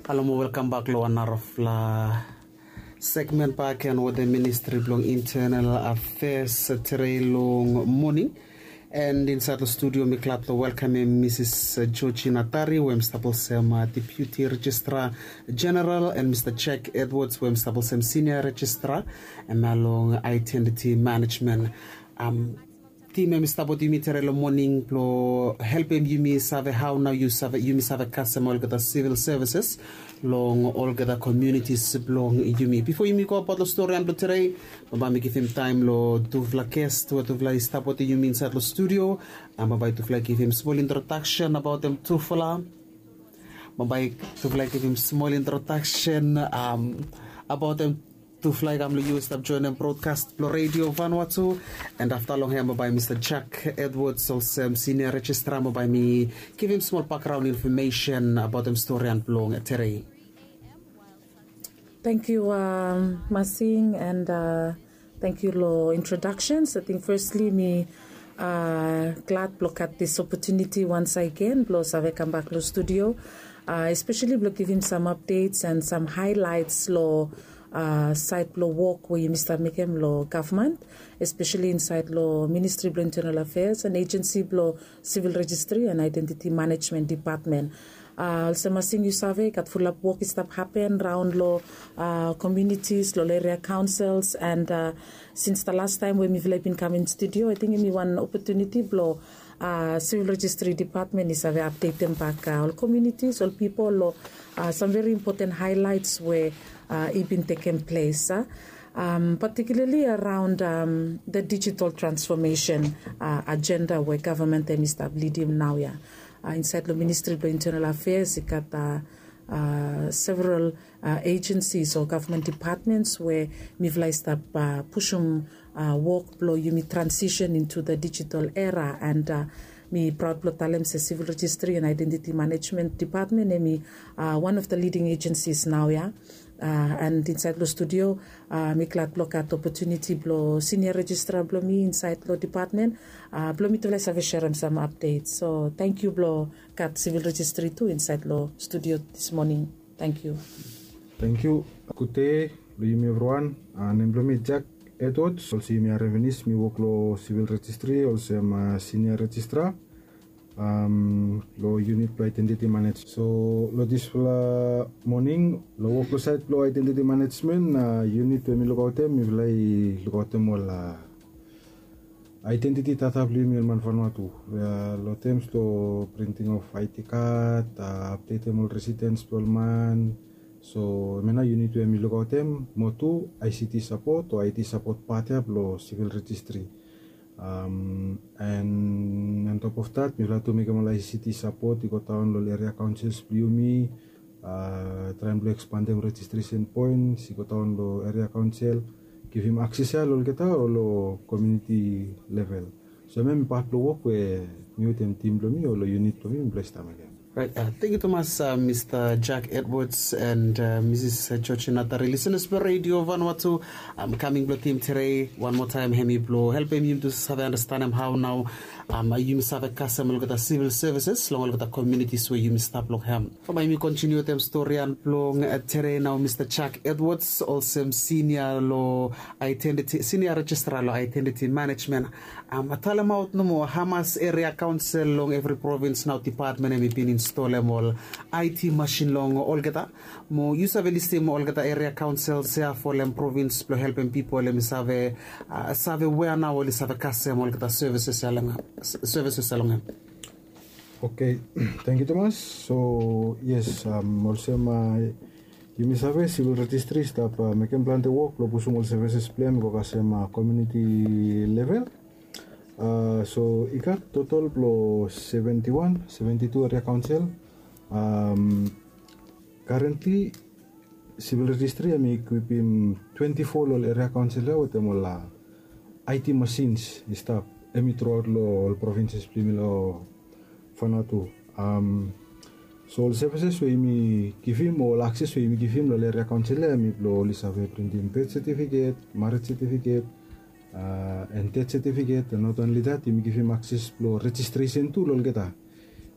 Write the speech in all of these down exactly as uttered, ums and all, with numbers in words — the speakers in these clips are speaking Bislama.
Halo mo welkam bak long wan narafala segmen bak en wetem Ministri blong Internal Affairs, tere long moning. And insaed long studio mi glad long welkamem Misis Georgina Tari we hem stap olsem Deputy Registrar General, and Mista Jack Edwards we hem stap olsem Senior Registrar, hem ya long Identity Management. Tim hem i stap wetem yumi tere long moning blong helpem yumi save hao nao yumi save kasem olgeta civil services long olgeta communities blong yumi. Bifo yumi gobaot long storian blong tere, bambae mi givim taem long tufala guest we tufala i stap wetem yumi insaed long studio. Bambae tufala i givim smol introdaksen abaotem tufala. Bambae tufala i givim smol introdaksen abaotem tufala i kam long yu i stap joenem brodkas blong Redio Vanuatu. And afta long hem bambae Mista Jack Edwards olsem Senior Registrar bambae mi givim smol bakgraon infomesen abaotem storian blong tere. Tangkiu Masing, and tangkiu long introdaksens. Ating fesli mi glad blong gat dis opotuniti wansagen blong save kambak long studio, espeseli blong givim sam apdets and sam haelaets long saed blong wok we yumi stap mekem long gavman, espeseli insaed long Ministri blong Intenal Afeas and ejensi blong Sivil Rejistri and Aedentiti Manejmen Depatmen. Olsem Masing yu save, i gat fulap wok i stap hapen raon long komiunitis, long eria kaonsels, and sins da lastaem we mifala i bin kam in studio, ating hem i wan opotuniti blong Sivil Rejistri Depatmen i save apdetem bak ol komiunitis, ol pipol long sam veri impoten haelaets we i bin tekem ples, patikiularli araon da dijital transfomesen ajenda we gavman hem i stap lidim naoia. Insaed long Ministri blong Intenal Afeas i gat several ejensis o gavman depatmens we mifala i stap pusum wok blong yumi transisen intu da dijital era, and mi praod blong talem se Sivil Rejistri and Aedentiti Manejmen Depatmen hem i wan of da liding ejensis naoia. And insaed long studio mi glad blong gat opotuniti blong Senior Rejistrar blong mi insaed long depatmen blong mitufala i save serem sam apdets. So tangkiu blong gat Sivil Rejistri tu insaed long studio dis moning. Tangkiu. Tangkiu. Gudei long yumi evriwan. Nem blong mi Jack Edwards, olsem yumi harem finis mi wok long Sivil Rejistri olsem Senior Rejistrar long yunit blong aedentiti manejmen. So long disfala moning long wok long saed blong aedentiti manejmen, yunit we mi lukaotem, mifala i lukaotem ol aedentiti data blong yumi ol man Vanuatu, long tems blong printing of ID kad, apdetem ol residens blong ol man. So hemia nao yunit we mi lukaotem. Mo tu ICT sapot o IT sapot pat ya blong Sivil Rejistri. And on top of that mifala tu mekem ol ICT sapot i godaon long ol eria kaonsels blong yumi, traem blong ekspandem rejistresen poens i godaon long eria kaonsel, givim akses ya long olgeta o long komiuniti level. So hemia hem i pat blong wok we mi wetem tim blong mi o long yunit blong mi mifala i stap mekem. Tangkiu tumas Mista Jack Edwards and Misis Georgina Tari. Lisenas blong Redio Vanuatu, kaming blong tim tere wan moa taem hem i blong helpem yumi tu save andastanem hao nao yumi save kasem olgeta sivil sevises long olgeta komiunitis we yumi stap long hem. Bambae yumi kontiniu wetem storian blong tere nao, Mista Jack Edwards, olsem sinia long aedentiti, sinia rejistra long aedentiti manejmen. Talemaot nomo hamas eria kaonsel long evri provins nao depatmen hem i bin instolem ol IT masin long olgeta. Mo yu save listim olgeta eria kaonsels ya folem provins blong helpem pipol hem i save save wea nao oli save kasem olgeta sevises ya long hem, sevises ya long hem. Oke, tangkiu tumas. So yes, olsem yumi save, sivil rejistri i stap mekem plante wok blong pusum ol sevises blong hem i go kasem komiuniti level. So i gat totol blong seventi wan, seventi tu eria kaonsel. Karentli sivil rejistri hem i ekwipim twenti fo long ol eria kaonsel ya wetem ol IT masins i stap, hem i truaot long ol provinses blong yumi long Vanuatu. So ol sevises we yumi givim o ol akses we yumi givim long ol eria kaonsel ya hem i blong oli save printim bet setifiket, marej setifiket, and det setifiket. And not onli dat, yumi givim akses blong rejistresen tu long olgeta.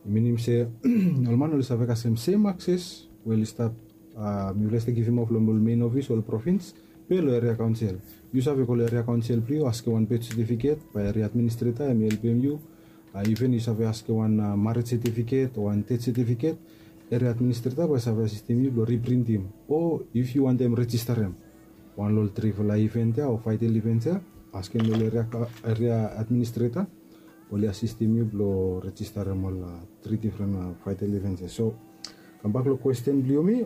I minim se ol man oli save kasem sem akses we oli stap, mifala i stap givim of long ol mein ofis ol provins, be long eria kaonsel. Yu save go long eria kaonsel blong yu, askem wan birth certificate, bae eria administreta hem i helpem yu. Iven yu save askem wan maret setifiket o wan tet setifiket, eria administreta bae save asistem yu blong riprintim, o if yu wantem rejistarem wan long ol trifala ivent ya o faetel ivent ya, askem long eria administreta, oli asistem yu blong rejistarem ol tri difren faetel ivent ya. So kambak long kwesten blong yumi,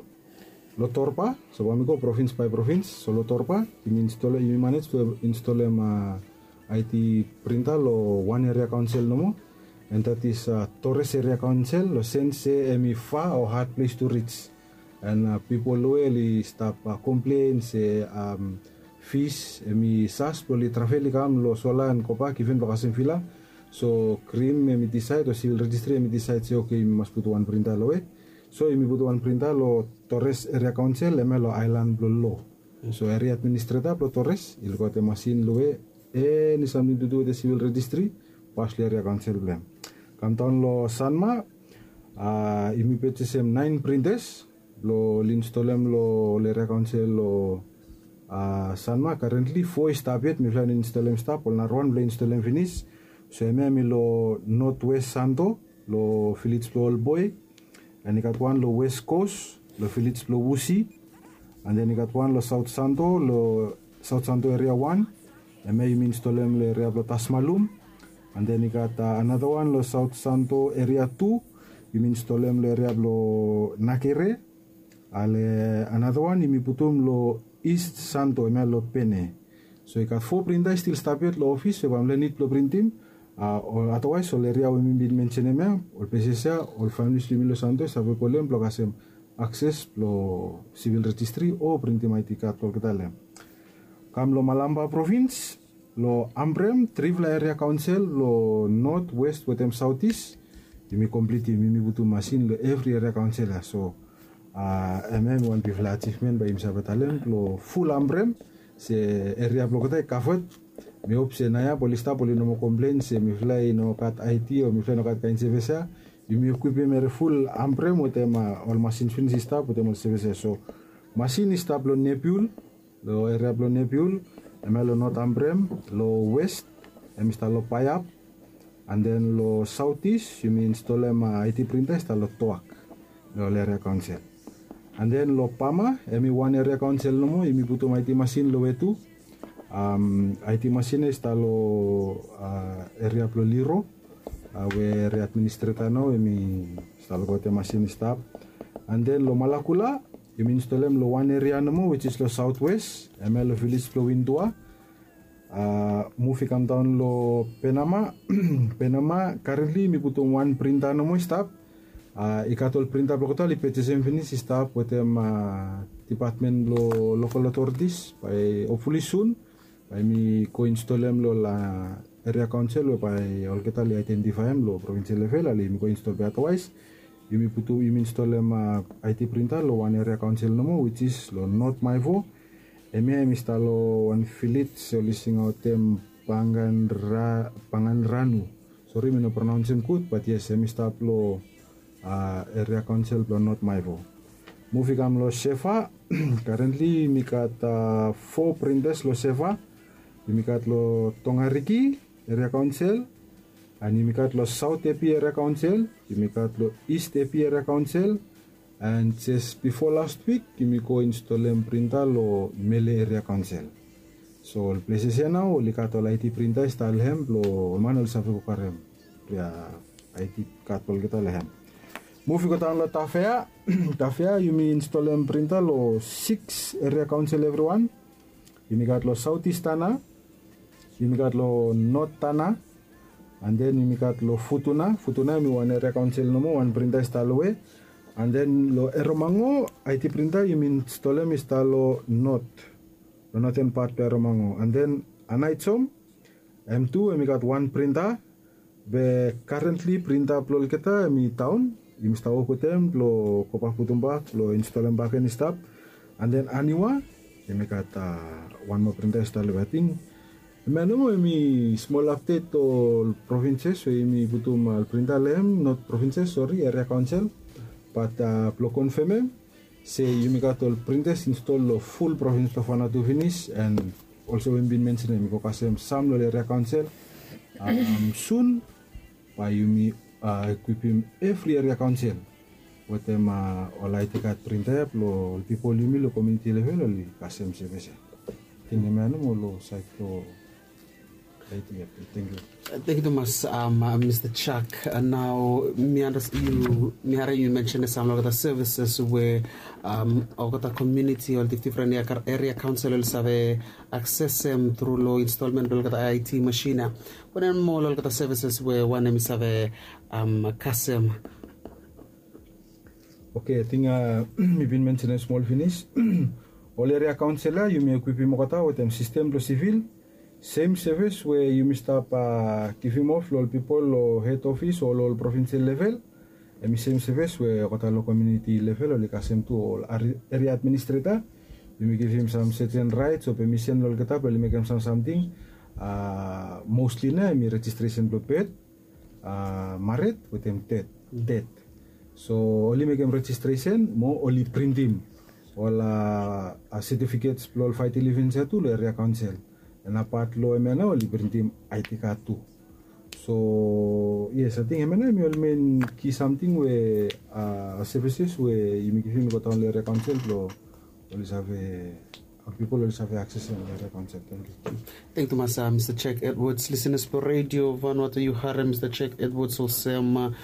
long Torba, so bae mi go provins bae provins. So long Torba yumi install, yumi manej blong installem aiti printa long wan eria kaonsel nomo, and that is Torres eria kaonsel, long sens se hem i fa o had ples tu rij. And pipol long we oli stap komplen se fis hem i sas blong oli travel i kam long sola and gobak iven blong kasem vila. So krim hem i disaed o sivil rejistri hem i disaed se oke yumi mas putum wan printa long we. So yumi putum wan printa long Torres eria kaonsel, hem ya long aelan blong lo. So eria administreta blong Torres i lukaotem masin long we eni samting tu du wetem sivil rejistri, pas long eria kaonsel blong hem. Kamdaon long Sanma, yumi pejesem naen printas blong oli installem long ol eria kaonsel long Sanma. Karentli fo i stap yet, mifala i no installem i stap, ol narawan blong installem finis. So hemia hemi long North West Santo, long vilej blong Old Boi, and i gat wan long West Coast long vilej blong Wusi, and then i gat wan long South Santo, long South Santo eria wan, hemia yumi installem long eria blong Tasmalum. And then i gat another wan long South Santo eria tu, yumi installem long eria blong Nakere. Ale another wan yumi putum long East Santo, hemia long Pene. So i gat fo printa i stil stap yet long ofis we bae mifala i nid blong printim. Otherwise ol eria we mi bin mensenem ya, ol ples ya, ol familis blong yumi long Santo i save kolem blong kasem akses blong sivil rejistri o printim aiti kad blong olgeta long hem. Kam long Malampa provins, long Ambrem, trifala eria kaonsel long North, West wetem South East, yumi komplitim, yumi putum masin long evri eria kaonsel ya. So hemia hemi wan bigfala ajivmen bae yumi save talem blong ful Ambrem, se eria blong olgeta i kaved. Mi hop se naoia oli stap oli no moa komplen se mifala i no gat aiti o mifala i no gat kaen sevis ya. Yumi ekwipim eria ful Ambrem wetem ol masin finis i stap wetem ol sevis ya. So masin i stap long Nepiul, long eria blong Nepiul, hemia long North Ambrem, long West hem i stap long Paiap, and then long South East yumi installem aiti printa i stap long Toak, long ol eria kaonsel. And then long Pama, hemi wan eria kaonsel nomo, yumi putum aiti masin long we tu. Aiti masin ya i stap long eria blong Liro, we eria administreta nao hemi stap long wetem masin i stap. And then long Malakula, yumi installem long wan eria nomo, which is long South West, hemia long vilej blong Windua. Muv i kamdaon long Penama. Penama, karentli yumi putum wan printa nomo i stap. I gat ol printa blong olgeta oli pejesem finis i stap wetem dipatmen blong lokal otoritis, bae hopfuli sun bae yumi go installem long ol eria kaonsel we bae olgeta oli aedentifaem long provinsel level, ale yumi go install be otherwise yumi putum, yumi installem aiti printa long wan eria kaonsel nomo, which is long North Maivo. Hemia hemi stap long wan vilej oli singaotem Panganranu. Sori mi no pronaonsem gud, bat yes, hemi stap long eria kaonsel blong North Maivo. Muv i kam long Seva. Karentli yumi gat fo printas long Seva. Yumi gat long Tongariki eria kaonsel, and yumi gat long South Epi eria kaonsel, yumi gat long East Epi eria kaonsel, and jes bifo last wik yumi go installem printa long Mele eria kaonsel. So ol pleses ya nao oli gat ol aiti printa i stap long hem blong ol man oli save go karem aiti kad blong olgeta long hem. Muv i go daon long Tafea. Tafea, yumi installem printa long siks eria kaonsel evriwan. Yumi gat long South East Tana, yumi gat long North Tana, and then yumi gat long Futuna. Futuna hemi wan eria kaonsel nomo, wan printa i stap long we. And then long Eromango, aiti printa yumi installem i stap long North, long Northern part blong Eromango. And then Anaisom, hem tu hemi gat wan printa. Be karentli printa blong olgeta hemi daon. Yumi stap wok wetem blong gobak putum bak blong installem bakegen i stap. And then Aniwa, hemi gat wan moa printa i stap long we, ating. Hemia nomo hemi smol apdet ol provinses we yumi putum ol printa long hem, not provinses, sori, eria kaonsel. Bat blong konfemem, Se yumi gat ol printas install long ful provins blong Vanuatu finis, and olsem we mi bin mensenem, mi go kasem sam long ol eria kaonsel. Sun bae yumi ekwipim evri eria kaonsel wetem ol aiti kad printa ya blong ol pipol yumi long komuniti level oli kasem sevis ya. Ating hemia nomo long saed blong aiti ya. Tangkiu. Tangkiu tumas, mista Chak. Nao mi andas yu mi harim yu mensenem sam long olgeta sevises we olgeta komuniti ol difdifren eria kaonsel oli save aksesem tru long instalmen blong olgeta aiti masin ya. Wanem moa long olgeta sevises we wanem i save kasem? Oke, ating mi bin mensenem smol finis. Ol eria kaonsel ya yumi ekwipim olgeta wetem sistem blong sivil, sem sevis we yumi stap givim of long ol pipol long hed ofis o long ol provinsel level. Hemi sem sevis we olgeta long komuniti level oli kasem tu, ol eria administreta. Yumi givim sam seten raets o pemisen long olgeta blong oli mekem sam samting. Mostli nao hemi rejistresen blong bet, maret wetem tet. So oli mekem rejistresen mo oli printim ol setifikets blong ol faiti livins ya tu long eria kaonsel. And apat long hemia nao oli printim aiti kad tu. So yes, ating hemia nao hemi ol men ki samting we sevises we yumi givim i go daon long eria kaonsel blong oli save, ol pipol oli save aksesem long eria kaonsel. Tangkiu. Tangkiu tumas, mista Jack Edwards. Lisenas blong Redio Vanuatu, yu harim mista Jack Edwards olsem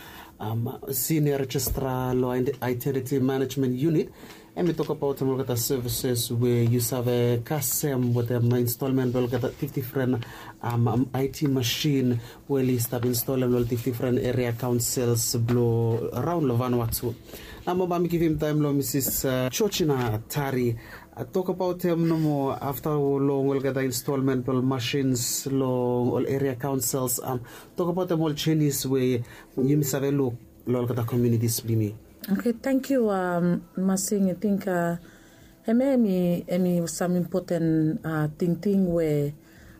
sinia rejistra long Identity Management Unit. Hemi tokbaot olgeta sevises we yu save kasem wetem instalmen blong olgeta difdifren aiti masin we oli stap instalem long ol difdifren eria kaonsels blong raon long Vanuatu. Nao bae mi givim taem long Misis Georgina Tari. Tokbaotem nomo afta long olgeta instalmen blong masins long ol eria kaonsels. Tokbaotem ol jenis we yumi save luk long olgeta komunitis blong yumi. Oke, tangkiu. Masing, ating hemia hemi sam impoten tingting we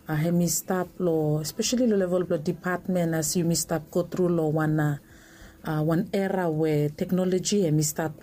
hemi stap long, espeseli long level blong dipatmen, as yumi stap gotru long wan era we teknoloji hemi stap long